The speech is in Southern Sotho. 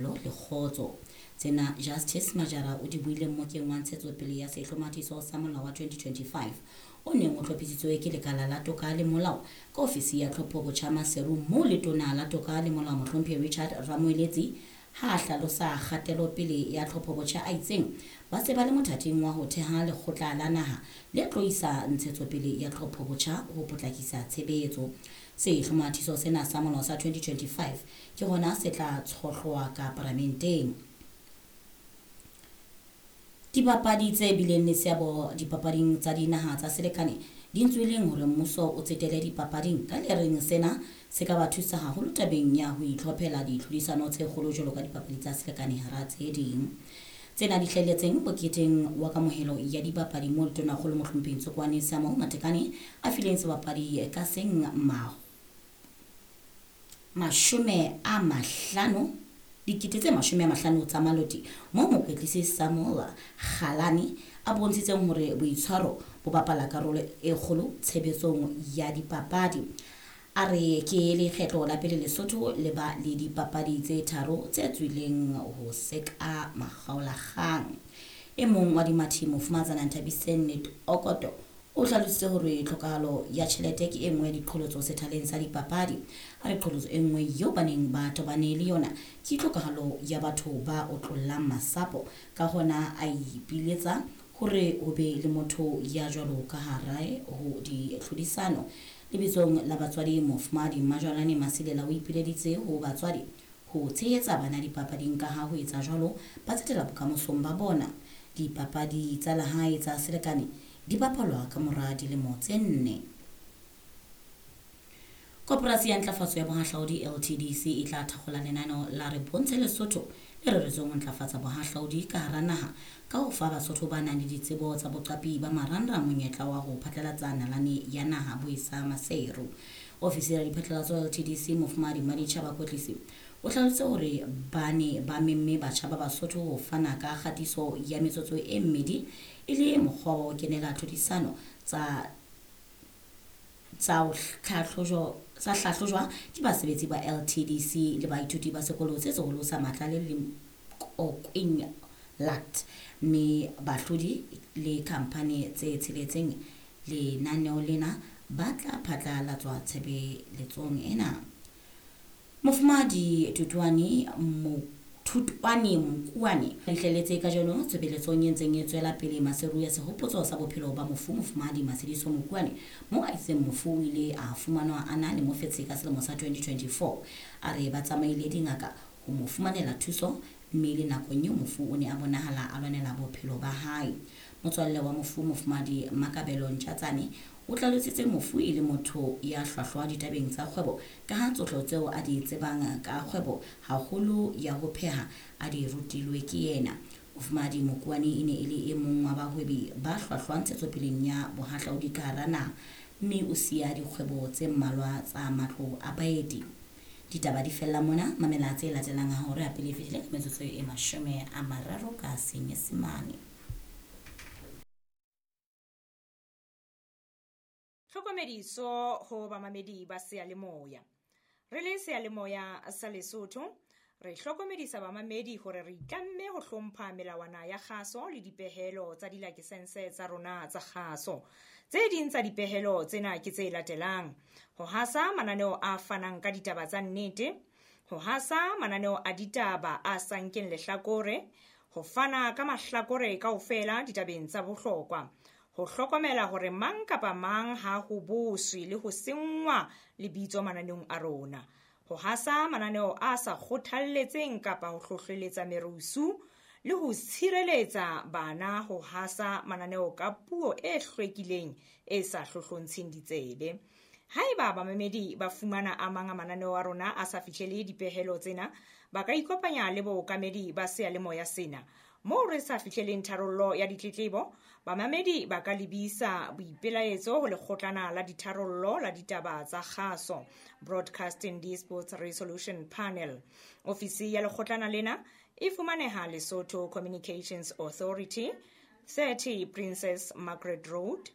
Le kgotso. Tsena Justice Majara o di buile mmokeng wa ntshetsopele ya sehlomathiso sa molao wa 2025 o neng o hlophisitswe ke Lekala la Toka le Molao ka ofisi ya Tlhopho Botjha Maseru moo Letona la Toka le Molao Mohlomphehi Richard Ramoeletsi ha a hlalosa kgatelopele ya tlhopho botjha a itseng ba se ba le mothating wa ho theha lekgotla la naha le tlo isa ntshetsopele ya tlhopho botjha ho potlakisa tshebetso. Sehlomathiso sena sa molao sa 2025 ke hona se tla tshohlwa ka paramenteng. Dibapadi tse bileng le seabo dipapading tsa dinaha tsa selekane di ntsweleng hore mmuso o tsetele dipapading ka le reng sena se ka ba thusa haholo tabeng ya ho itlhophela ditlhodisano tse kgolo jwalo ka dipapadi tsa selekane hara tse ding. Tsena di hlahelletseng moketeng wa kamohelo ya dibapadi moo Letonakgolo Mohlomphehi Ntsokoane Samuel Matekane a fileng sebapadi ka seng 50, 50,000 tsa maloti moo mokwetlisi Samuel Kgalane a bontshitseng hore boitshwaro bo bapala karolo e kgolo tshebetsong ya dipapadi. A re ke lekgetlo la pele Lesotho le ba le dipapadi tse tharo tse tswileng ho seka makgaolakgang. E mong wa dimathi Mofumahatsana Nthabiseng Okoto o hlalositse hore tlhokahalo ya tjhelete ke e nngwe ya diqholotso sethaleng sa dipapadi. A re qholotso e nngwe eo ba neng ba tobane le yona ke tlhokahalo ya batho ba otlollang masapo. Ka hona a ipiletsa hore ho be le motho ya jwalo ka hare ho ditlhodisano. Lebitsong la batswadi Mofumahadi Mmajwalane Masilela o ipileditse ho batswadi ho tshehetsa bana dipapading ka ha ho etsa jwalo ba tsetela bokamosong ba bona. Dipapadi tsa lehae tsa selekane di bapalwa ka mora dilemo tse 4. Koporasi ya Ntlafatso ya Bohahlaudi LTDC e tla thakgola lenaneo la Re Bontshe Lesotho le reretsweng ho ntlafatsa bohahlaudi ka hara naha ka ho fa Basotho ba nang le ditsebo tsa boqapi ba marangrang monyetla wa ho phatlalatsa nalane ya naha Boisa Maseru. Ofisi ya diphatlalatso LTDC Mofumahadi Mmaditjhaba Kwetlisi o hlalositse hore ba ne ba memme batjha ba Basotho ho fana ka kgatiso ya metsotso e mmedi e le mokgwa wa ho kenela tlhodisano tsa hlahlojwa ke basebetsi ba LTDC le baithuti ba sekolo se seholo sa Matlale le Kokwing Lat, mme bahlodi le khamphani tse tsheletseng lenaneo lena ba tla phatlalatswa tshebeletsong ena. Mofumahadi Thutwane Mokuane fihlelletse kajeno tshebeletsong e ntseng e tswela pele Maseru ya sehopotso sa bophelo ba mofu Mofumahadi Matshidiso Mokuane moo a itseng mofu o ile a fumanwa a na le mofetshe ka selemo sa 2024. A re ba tsamaile dingaka ho mo fumanela thuso mme le nakong eo mofu o ne a bonahala a lwanela bophelo ba hae. Motswalle wa mofu Mofumahadi Makabelo Ntjatsane o hlalositse mofu e le motho ya hlwahlwa ditabeng tsa kgwebo ka ha tsohle tseo a di tsebang ka kgwebo haholo ya ho pheha a di rutilwe ke yena. Mofumahadi Mokuane e ne e le e mong wa bahwebi ba hlwahlwa ntshetsopeleng ya bohahlaudi ka hara naha mme o siya dikgwebo tse mmalwa tsa matlo a baeti. Ditaba di fella mona, mamela tse latelang ha hore a pele e fetile ka metsotso e 30 ka Senyesemane. Tlhokomediso ho bamamedi ba seyalemoya. Re le seyalemoya sa Lesotho, re hlokomedisa bamamedi hore re itlamme ho hlompha melawana ya kgaso le dipehelo tsa dilakesense tsa rona tsa kgaso. Tse ding tsa dipehelo tsena ke tse latelang: ho hasa mananeo a fanang ka ditaba tsa nnete, ho hasa mananeo a ditaba a sa nkeng lehlakore, ho fana ka mahlakore kaofela ditabeng tsa bohlokwa, ho hlokomela hore mang kapa mang ha ho boswe le ho senngwa lebitso mananeong a rona, ho hasa mananeo a sa kgothalletseng kapa ho hlohleletsa merusu le ho tshireletsa bana ho hasa mananeo ka puo e hlwekileng e sa hlohlontsheng ditsebe. Haeba bamamedi ba fumana a mang a mananeo a rona a sa fihlele dipehelo tsena, ba ka ikopanya le bookamedi ba seyalemoya sena. Moo re sa fihleleng tharollo ya ditletlebo, bamamedi ba ka lebisa boipelaetso ho lekgotlana la ditharollo la ditaba tsa kgaso, Broadcasting Disputes Resolution Panel. Ofisi ya lekgotlana lena e fumaneha Lesotho Communications Authority, 30 Princess Margaret Road,